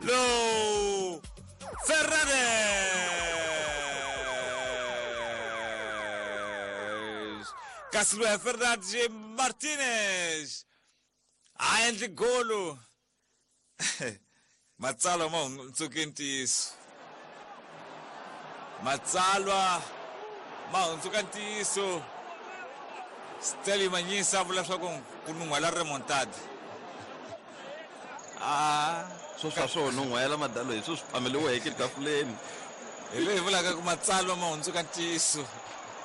Low Fernandes kasi loyi Fernandes Martinez a endli golo. Matsalwa ma hundzuke ntiyiso, matsalwa ma hundzuka ntiyiso. Stanley Manyisa a vula leswaku ku nun'hwela remontad. A swo swa swo nun'hwela madalo hi swo swi phameliweke etafuleni. Hi leyi vulaka ku matsalwa ma hundzuka ntiyiso.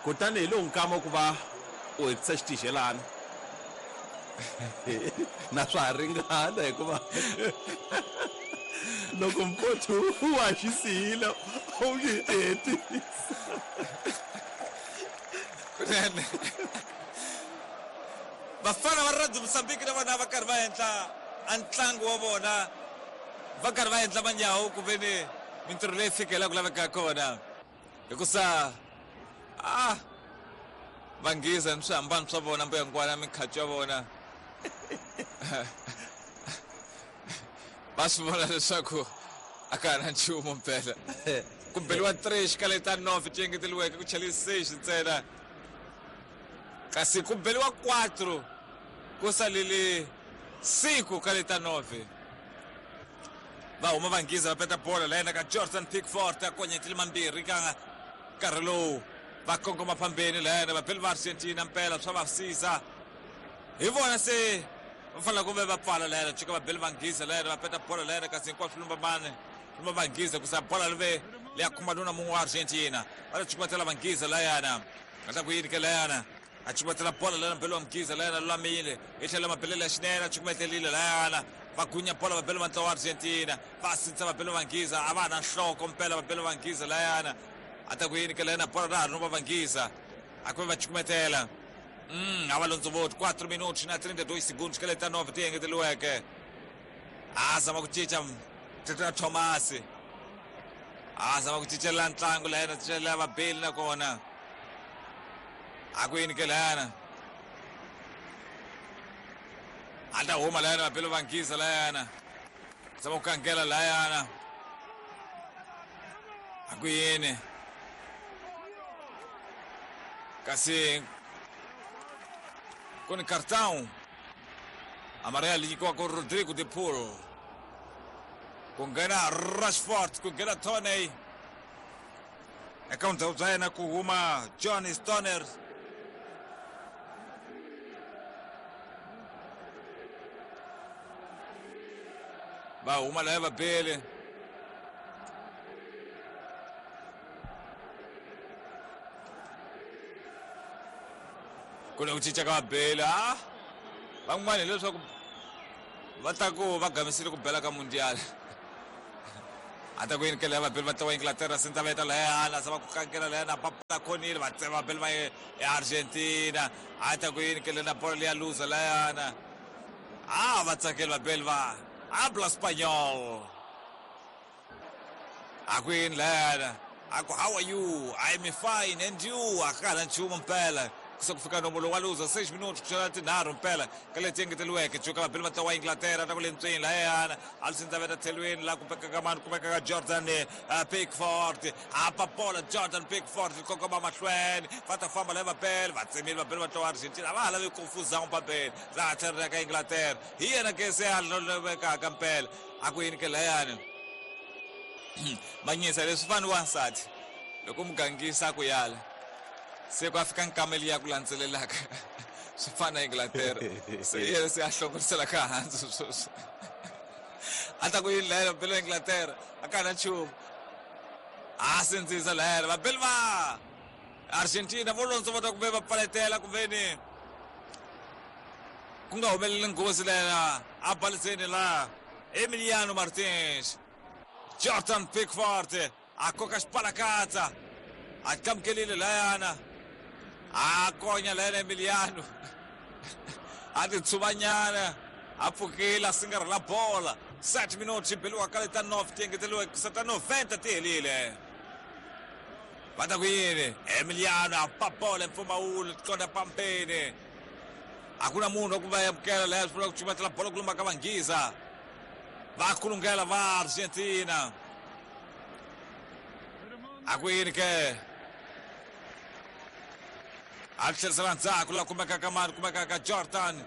Kutani hi lowu nkama ku va u hetisa xitixelana na swa ha ringana, hikuva loko mpotho wa xi siyile u nge hetisa. Kunene vafana va Radio Mozambique na vona va karhi va endla a ntlangu wa vona, va karhi va endla manyawu ku ve ni mintirho leyi fikela ku lavekaka kona, hikusa a va nghiza ni swihambano swa vona, mbuyangwana, mikhaco ya vona, va swi vona leswaku a ka ha na nchumu mpela. Ku beliwa 3 xikale ta 9 ti engeteriweke, ku chele 6 ntsena, kasi ku beliwa 4 ku salele 5 ka leta 9. Va huma vanghiza, va peta bola la yena ka Jordan Pickford, a konyetile mambirhi ka nkarhi lowu va kongoma phambeni la yena. Vabeli va Argentina mpela swa va siza hi vona, se va fanele ku ve va pfala la yena. Cuka vabeli vanghiza la yena, va peta bola la yena, kasi hinkwaswo lumba mani lumba vanghiza kusa bola live leya khumba nuna mun'we wa Argentina. Va ta cukumetela vanghiza la yena, a ta ku yini ke la yana, a cukumetela bola lana belo wa mughiza la yena, lulamile hi tlhelo mabelelo ya xinene, a cukumetelile la yana, va gunya bola vabelo va ntlawa wa Argentina, va sintsa vabelo vanghiza, a va ha na nhloko mpela vabelo vanghiza la yana. A ta ku yini ke la yena, bola ra ha ri no va vanghiza, a ku ve va cukumetela. A va londzovoti 4 minutos na 32 segundos ka leta 9 ti engeteriweke. A zama ku cinca Tata Thomas, a zama ku cincela ntlangu la yena, cincela vabeli nakona a ku yini ke la yana, a ta huma la yena vabeli vanghiza la yana, zama ku kangela la yana, a ku yini kasi ku ni cartão amarelo nyikiwaka Rodrigo de Paul. Ku nghena Rashford, ku nghena Tony eka vundzhaku bya yena, ku huma Johnny Stoner. Va huma laya vabeli ku na ku cinca ka vabeli. A van'wana hileswaku va ta ku va gamisile ku bela ka mundial. A ta ku yini kele ya vabeli va tlawa Inglaterra, sintsa va eta layana, se va ku kankela layana, papala khonile, va tsema vabeli va Argentina. A ta ku yini kele na bola leya luza layana, a va tsakeli vabeli va habla Spanyol. A ku yini layana, a ku how are you, I'm fine and you, a ka ha na nchumu mpela. Ku se ku fika nomo lowu wa luza 6 minutos ku xela tinharhu mpela ka leti engeteriweke. Cuka vabeli va ntlawa wa Inglaterra ta ku le ntsweni layana, a lusinza veta tlhelweni la kumekaka mani, kumekaka Jordan Pickford, a papola Jordan Pickford kongoma mahlweni, va ta famba laya vabeli va tsemile vabeli va ntlawa wa Argentina, a va ha lavi confusão pambeni laha tlhelo ra ka Inglaterra. Hi yena ke se a lovekaka mpela. A ku yini ke layani manyisa leswi fani wansati loko mugangisa ku yala se ku a fika nkameli ya ku landzelelaka swi fana Inglaterra, se yena se a hlongorisela ka hansi sweswi. A ta ku yini layani vabeli va Inglaterra, a ka na nchumu, a sindzisa layani vabeli va Argentina vo londzo va ta ku ve va pfaletela ku ve ni ku nga humeleli nghozi layana. A baliseni la Emiliano Martins, Jordan Pickford a koka xipalakatsa, a tlamukelile layana, a konya layana Emiliano, a titshuvanyana, a pfukile, a singarhela bola. 7 minutos xi beliwa ka leta 9 ti engeteriweke kusa ta 90 ti helile. Va ta ku yini Emiliano, a pa bola mpfumawulo tikonda pampeni, a ku na munhu wa ku va amukela laya, swi vula ku cukumetela bola ku lumba ka vanghiza. Va kulungela va Argentina. A ku yini ke? A tlherisela ndzhaku la kumekaka mani, kumekaka Jordan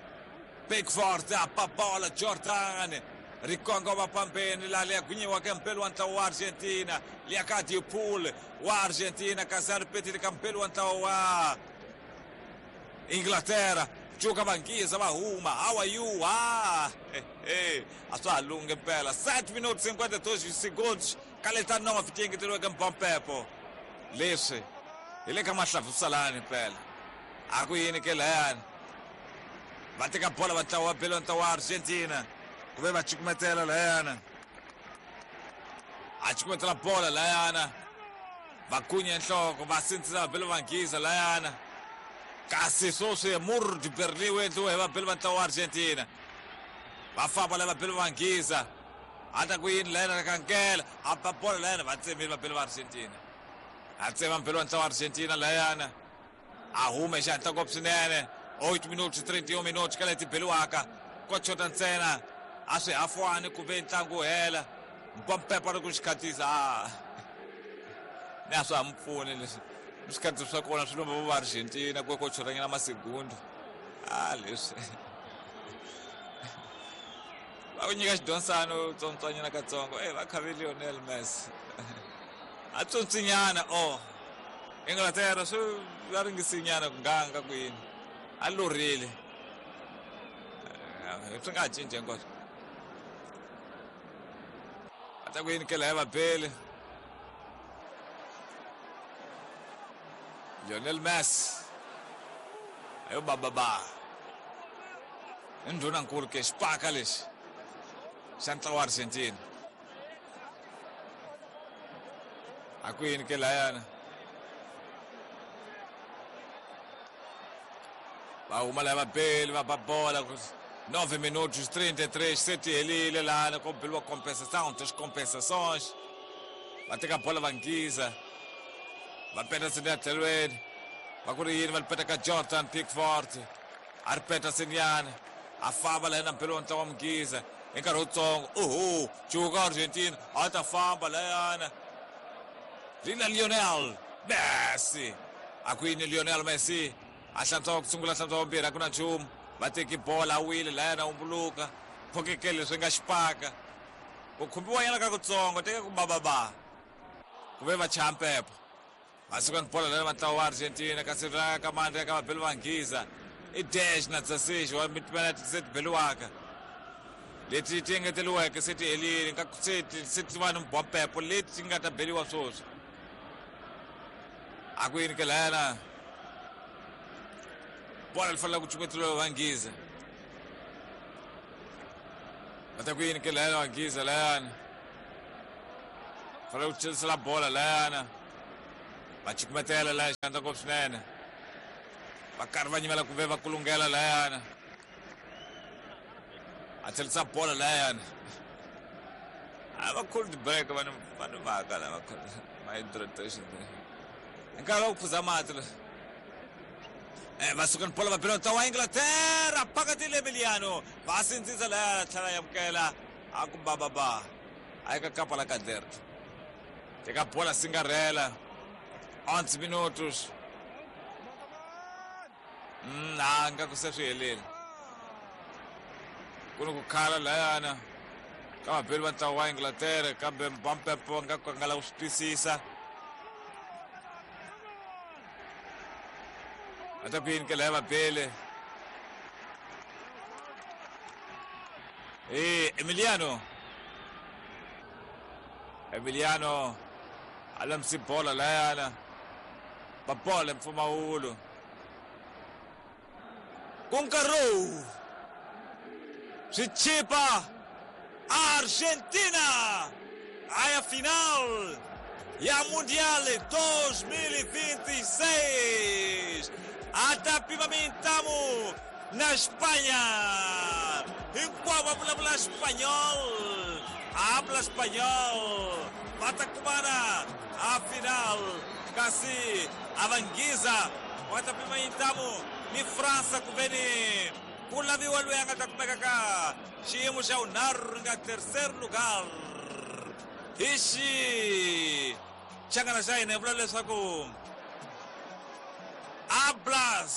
Pickford, a ba bola Jordan ri kongoma pambeni laha liya gwinyiwaka mpelo wa ntlawa wa Argentina, liya ka Depaul wa Argentina, kasi a ri petile ka mpelo wa ntlawa wa Inglaterra. Cuka vanghiza va huma, how are you? Ah, a swa ha lunghi mpela. 7 minutos 52 segundos ka leta 9 ti engeteriweke mpompepo. Leswi hi le ka mahlavusalani mpela. A ku yini ke layani? Va teka bola va ntlawa wa belo ntlawa wa Argentina, ku ve va cukumetela layana. A cukumetela bola layana, va kunya nhloko, va sindzisa va belo vanghiza layana. Kasi sweswi Mur du Berlin wu endliwe hi vabeli va ntlawa wa Argentina. Va famba lava beli va nghiza. A ta ku yini layana kankela, a ba bola layana, va tsemile vabeli va Argentina. A tsema mbeli wa ntlawa wa Argentina layana. A hume xihatla ngopfu swinene. 8 minutos 31 minutos ka leti beliwaka. Ko chota ntsena a swi hafwani ku ve ntlangu wu hela. Mpompepo ri ku xikhatisa. Ah. Ni a swa ha mi pfuni leswi. Swikhatisa swa kona swi lomba va Argentina ku ko chotanyana masegundu. Ah, leswi. Va ku nyika xidonsano tsontswanyana katsongo. Eh, va khave Lionel Messi. A tsontsinyana, oh. Inglaterra swi va ringisinyana ku nganga ku yini. A lorile. Swi nga ha cinci hinkwaswo. A ta ku yini ke laya vabeli. Lionel Messi. Ayo bababa. I ndhunankulu ke xipaka lexi xa ntlawa wa Argentina. A ku yini ke layana? Va huma laya vabeli va ba bola 9 minutos 33 se ti helile lana ko beliwa compensação, das compensações. Va teka bola va nghiza. Va peta ya tlhelweni. Va ku ri yini va li peta ka Jordan Pickford. A ri peta senyana. A famba la yena mpelo wa ntlawa wa mughiza hi nkarhi wutsongo. Oho, cuka Argentina a ta famba layana. Rina Lionel Messi. A ku yini Lionel Messi? A hlantswa ku sungula, hlantswa vumbirhi, a ku na nchumu. Va teki bola a wile layana humbuluka. Phokekele leswi nga xipaka. Ku khumbiwa nyana ka kutsongo, teka ku bababa. Ku ve va chaya mpepo. Va suka ni bola layana va ntlawa wa Argentina, kasi ra ka mandla ka vabeli va nghiza. I dash na 16 wa mitimela se ti beliwaka. Leti ti engeteriweke se ti helile, nga se ti se ti va ni mbompepo leti ti nga ta beliwa sweswi. A ku yini ke layana? Bola li fanele ku cukumetiwa va nghiza. Va ta ku yini ke layana va nghiza layana? Fanele ku chelisela bola layana. Va cukumetela laya xandla ngopfu swinene. Va karhi va nyimela ku ve va kulungela layana. A chelisa bola layana. A va cold break vanhu vanhu va ka lava ma hydration. Nkarhi wa ku phuza mati la. Va suka ni bola va bela ntlawa wa Inglaterra phakathi le Emiliano. Va sindzisa laya tlhela ya amukela. A ku ba ba ba. A ka kapa la Caderno. Teka bola singarela. 11 minutos. A nga ku se swi helile. Ku ni ku khala layana ka vabeli va ntlawa wa Inglaterra, kambe Mbappe nga ku nga lava ku swi twisisa. A ta ku yini ke laya vabeli? Emiliano. Emiliano a lamisi bola layana. Ba bola mpfumawulo. Ku nkarhi lowu swi chipa Argentina a ya final ya Mundial 2026. A ta pima mintamu na Espanha. Hinkwavo va vulavula Espanhol. Habla Espanhol. Va ta kumana a final. Kasi a va nghiza va ta pima mintamu ni França ku ve ni Ku laviwa loyi a nga ta kumeka ka xiyimo xa vunharhu ri nga tercer lugar. Hi xi changana xa hina hi vula leswaku Hablas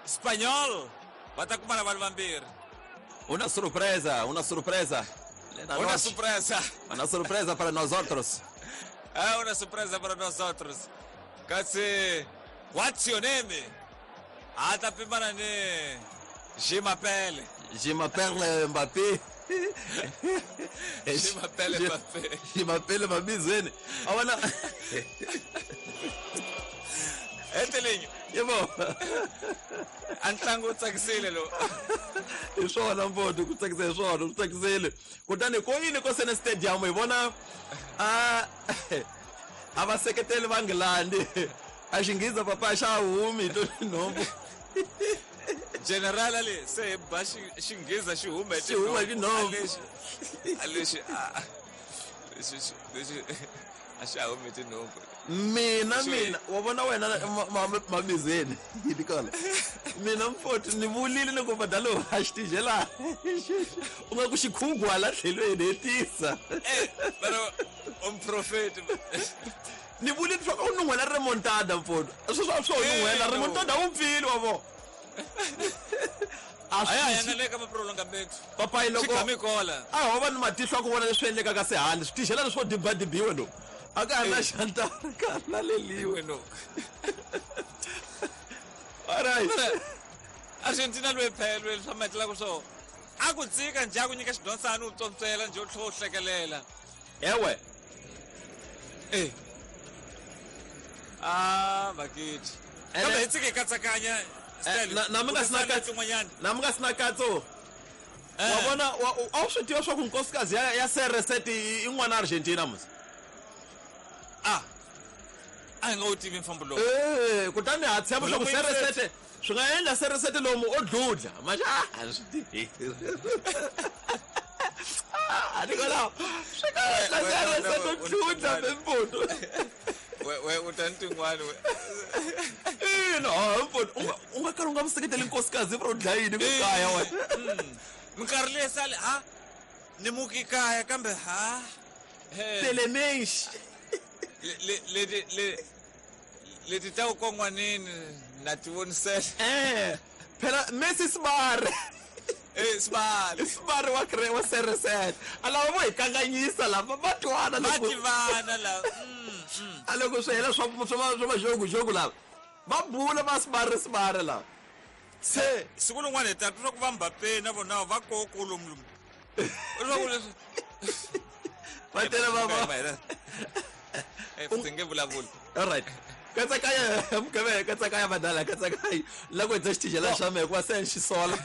Espanol va ta kumana vanhu vambirhi. Una surpresa, una surpresa. Una surpresa. Una surpresa para nosotros. Ah, una surpresa para nosotros. Kasi what's your name? A ta pimana ni Je m'appelle. Je m'appelle Mbappé. Je m'appelle Mbappé. Je m'appelle Mabizweni. A vona. Hetelinyo. Yebo. A ntlangu wu tsakisile lowu. Hi swona mfowethu, ku tsakisa hi swona, ku tsakisile. Kutani ko yini ko Sene Stadium hi vona a a vaseketeli va Nghilandhi. A xinghiza papa xa humi hi to tinhompfu. General ali se hi ba xinghiza xi huma hi Xi huma hi tinhompfu. A lexi a lexi lexi a xa humi hi tinhompfu. Mina mina wa vona wena mabizeni yini kona. Mina mfowethu ni vulile ni ku badalo a xi tijela. U nga ku xikhugu hala tlhelweni hetisa. Eh, pero umprofeti. Ni vulile leswaku u nun'hwela remontada mfowethu. Sweswo a swo nun'hwela remontada wu pfile wa vona. A ya ya nga le ka maprolongamento. Papayi loko Xigamikola. A ho va ni matihlo ya ku vona leswi endlekaka se handle. Switixela leswo dibadibiwe lo. A ka ha ri na xantara, ka ha ri na leliwe. No. All right. Argentina loyi phela loyi swa matlaka swo. A ku tsika njhe a ku nyika xidonsana u tsontswela njhe u tlhela u hlekelela. Ewe. Eh. Ah, bakiti. Kambe hi tsike katsakanya. Na mi nga sina katso. Na mi nga sina katso. Wa vona a wu swi tiva swa ku nkosikazi ya CR7 i n'wana Argentina musi. Ah. A hi nga wu tivi mfambo lowu. Eh, kutani ha tshemba swa ku CR7 swi nga endla CR7 lomu o dludla. Manje a swi tivi. Ah, Nicolau, swi nga endla CR7 o dludla mimfundo. We u ta ni tin'wani we. Ina, mfundo, u nga kala u nga mu seketeli nkosikazi ro dlaya yini ku kaya wena. Minkarhi leyi sale ha ni muki kaya kambe ha. Telemenshi. Leti leti ta ku kon'wanini na ti vonisela. Eh, phela Messi sibari. Eh, sibari. Sibari wa kre wa CR7. A lava vo hi kanganyisa lava va twana loko. Va tivana lava. A loko swi hela swa swa swa majogo lava. Va bula va sibari sibari lava. Se siku rin'wana hi ta twa ku va Mbappé na vona va koko lomu lomu. Leswaku leswi va tele va va. Eh, ndzi nge vulavuli. All right. Katsakaya mugave katsakaya badala katsakaya la ku dza xitijela xa mehe hikuva se ni xi sola.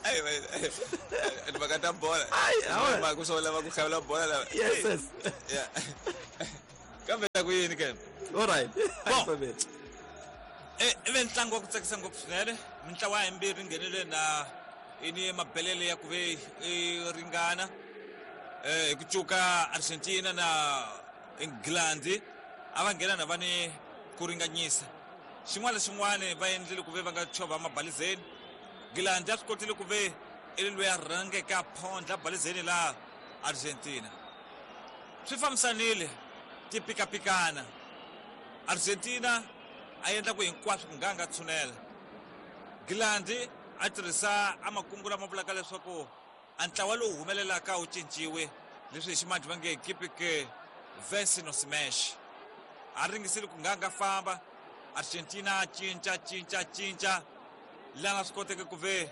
Ai timhaka ta bola. Ai, ku swo lava ku xavela bola lava. Yes, yes. Yeah. Kambe ta ku yini ke? All right. Bon. Eh, ive ntlangu wa ku tsakisa ngopfu swinene. Mintlawa yimbirhi nghenile na ini mabelele ya ku ve ringana. Eh, hi ku cuka Argentina na England a va nghena na va ni ku ringanyisa. Xin'wana na xin'wana va endlile ku ve va nga chova mabalizeni. England a swi kotile ku ve i loyi a rhangeke a phondla balizeni la Argentina. Swi fambisanile ti pikapikana. Argentina a endla ku hinkwaswo ku nga nga tshunela. England a tirhisa a makungu lama vulaka leswaku a ntlawa lowu humelelaka wu cinciwe leswi hi ximanjhe va nge keep vence no smash. A ringisile ku nga nga famba Argentina cinca cinca cinca lana swi koteke ku ve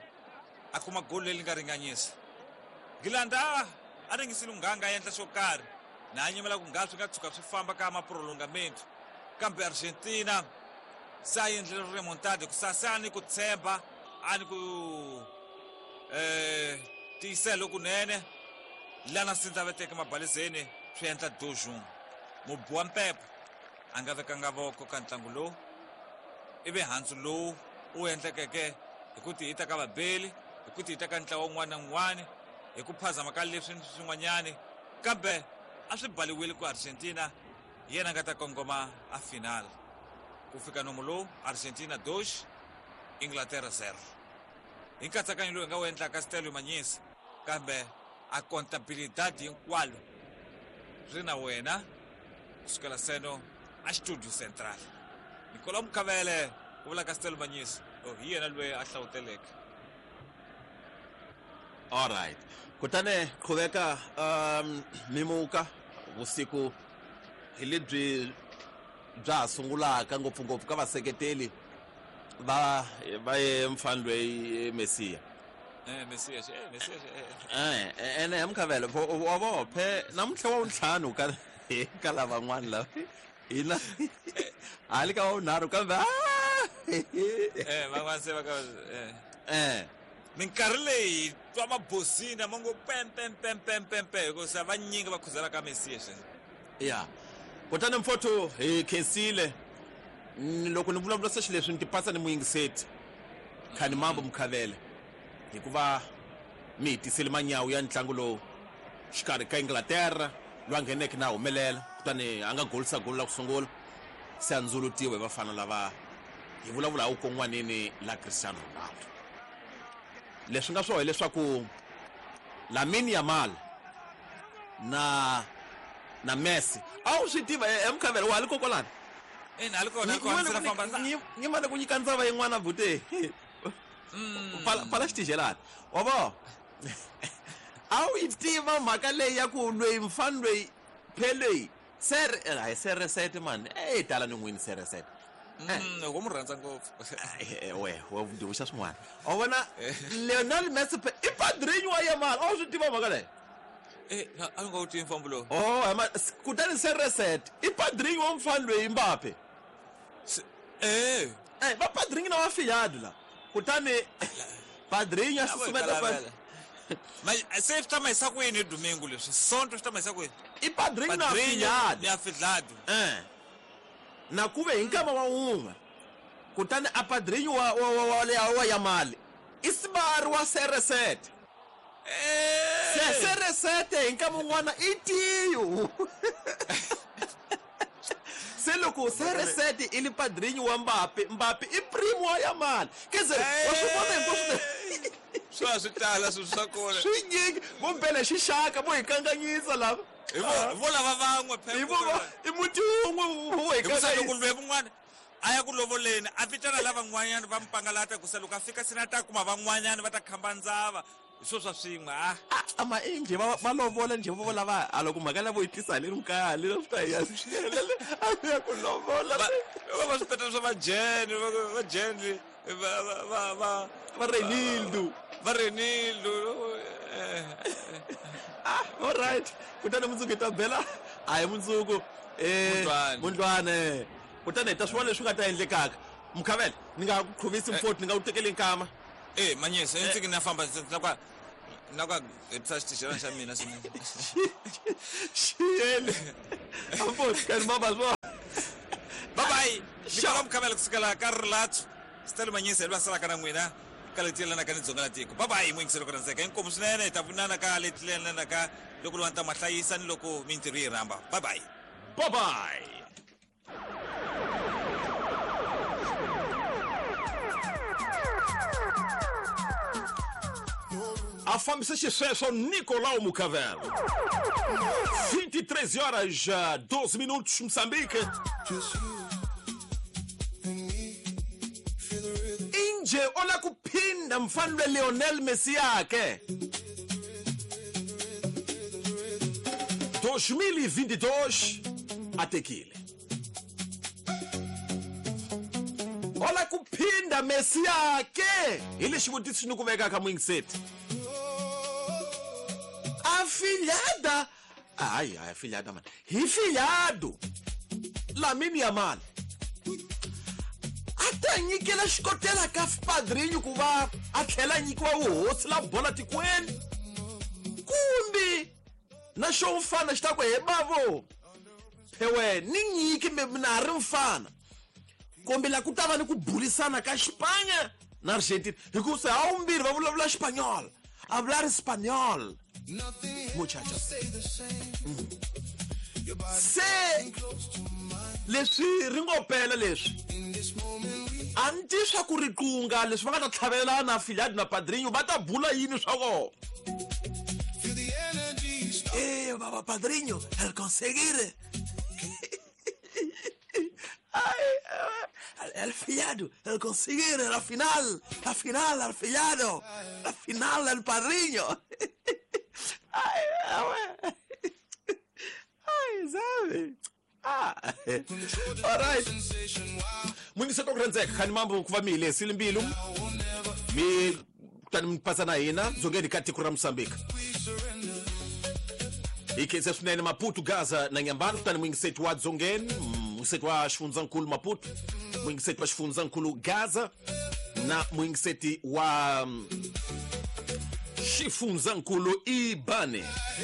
a kuma goli leri nga ringanyisa. England a ringisile ku nga nga endla xo karhi na a nyimela ku nga swi nga tshuka swi famba ka maprolongamento kambe Argentina se a endlile remontada ku sase a ni ku tshemba a ni ku tiyisela lokunene lana sindza veteke mabalizeni swi endla dojung. Mubi wa mpepo a nga vekanga voko ka ntlangu lowu ivi handzu lowu wu endlekeke hi ku tihita ka vabeli hi ku tihita ka ntlawa wun'wana na wun'wana hi ku phazama ka leswi ni swin'wanyani kambe a swi baliwile ku Argentina yena nga ta kongoma a final. Ku fika nomu lowu Argentina 2 Inglaterra 0. Hi nkatsakanyo lowu hi nga wu endlaka Stelio Manyisi, kambe a contabilidade hinkwalo ri na wena kusukela seno a Studio Central. Nicolau Mukhavele ku vula ka Stelio Manyisi, oh, hi yena loyi a hlawuteleke. Alright, kutani qhuveka mimuka vusiku hi lebyi bya ha sungulaka ngopfungopfu ka vaseketeli va va ye mfana loyi Mesiya. Mesiya Mesiya ene hi Mukhavele wa vo phe namuntlha wa wuntlhanu ka ka lavan'wana lava hina hali ka wa vunharhu kambe van'wana se va ka minkarhi leyi twa mabosina ma ngo pem pem pem pem pem pem hikusa vanyingi va khuzela ka Mesiya xe. Ya kutani mfotho hi khensile loko ni vulavula se xileswi ni tipasa ni muyingiseti Khani Mambo Mukhavele hikuva mi hi tisele manyawu ya ntlangu lowu xikarhi ka Inglaterra loyi a ngheneke na humelela kutani a nga golisa golo la ku sungula se a ndzulutiwe hi vafana lava hi vulavula hi wukon'wanini la Cristiano Ronaldo. Leswi nga swona hileswaku Lamine Yamal na na Messi a wu swi tiva Mukhavele wa ha li kokwalani. Ina, a li kona, a li kona, ndzi famba nyimane ku nyika ndzava yin'wana bute. Pfala xitijelani wa vo a wu yi tiva mhaka leyi ya ku loyi mfana loyi phe loyi ser hayi seresete mani e tala ni n'wini seresete. Loko mu rhandza ngopfu. We we ndivuxa swin'wana wa vona Lionel Messi i padrinho wa Yamal a wu swi tiva mhaka leyi. A nga wu tivi mfambo lowu. Oh kutani seresete i padrinho wa mfana loyi Mbappe. Va padrinho na wa fiyadu la kutani padrinho a susumeta se swi ta mahisa ku yini hi domingo leswi sonto swi ta mahisa ku yini i padrinho na fiyadu ni afidlado na kuve hi nkama wa wun'we kutani a padrinho wa wa wa wa Yamal i sibari wa seresete. Seresete hi nkama wun'wana i tiyo. Se loko seresete i li padrinho wa Mbappe, Mbappe i primo wa Yamal. Keze wa swi vona hinkwaswo swa swi tala swilo swa kona swi nyingi vo mpela xixaka vo hi kanganyisa lava vo lava van'we i muti wun'we vo hi kanganyisa. Loko lweyi van'wana a ya ku lovoleni a vitana lavan'wanyana va mpangalata ku se loko a fika sina ta kuma van'wanyana va ta khamba ndzava hi swo swa swin'we ama i njhe va lovola njhe vo lava a loko mhaka lavo yi tisa haleni kaya haleni swi ta hi ya a ya ku lovola va swi petela swa vajeni vajeni va va Renildo va Renildo. All right kutani mundzuku hi ta bela a hi mundzuku mundlwane kutani hi ta swi vona leswi nga ta endlekaka. Mukhavele ni nga ku qhuvisi mfoti ni nga ku tekeli nkama. Manyisa ndzi na famba na ka hetisa xitixelana xa mina swinene. Xiyele amfoti kani mama swo bye bye. Nicolau Mukhavele kusukela ka Rilatso Stelio Manyisa hi loyi a salaka na n'wina ka leti yelanaka ni dzonga la tiko. Bye bye muyingiseri ku rhandzeka inkomu swinene hi ta vonana ka leti yelanaka loko lowa ni ta ma hlayisa ni loko mintirho yi rhamba. Bye bye. Bye bye. A fambisa xisweswo Nicolau Mukhavele. 23 horas 12 minutos, Moçambique. Inje ola kuphinda mfana lwe Lionel Messi yakhe. 2022 atekile. Ola kuphinda Messi yakhe. Hi lexi xivutiso ni ku veka ka muyingiseti. Afilhada, ai, afilhada mano. Hi filhado, Lamine Yamal. A nyikela xikotela ka padrinho ku va a tlhela nyikiwa vuhosi la bola tikweni. Kumbe na xo mfana xi ta ku he bavo. Phewe ni nyiki mina ha ri mfana. Kumbe la ku ta va ni ku burisana ka Xipanya na Argentina hikuva ha vumbirhi va vulavula Xipanyol. Hablar español. Muchachos. Se leswi ri ngo pela leswi a ni ti swa ku riqunga leswi va nga ta tlhavelana filhadi na padrinho va ta bula yini swa kona. Baba padrinho, el conseguir. Ay, el fillado, el conseguir, la final, el fillado, la final el padrinho. Ay, ay, sabe? Ah. All right. Mwingiseto ku rhandzeka khani mambo ku va mi hi lehisile mbilu mi kutani mi pasa na hina dzongeni ka tiko ra Mozambique. Hi khensa swinene Maputo, Gaza na Nyambani, kutani muyingiseti wa dzongeni, muyingiseti wa xifundzankulu Maputo, muyingiseti wa xifundzankulu Gaza na muyingiseti wa xifundzankulu Ibane.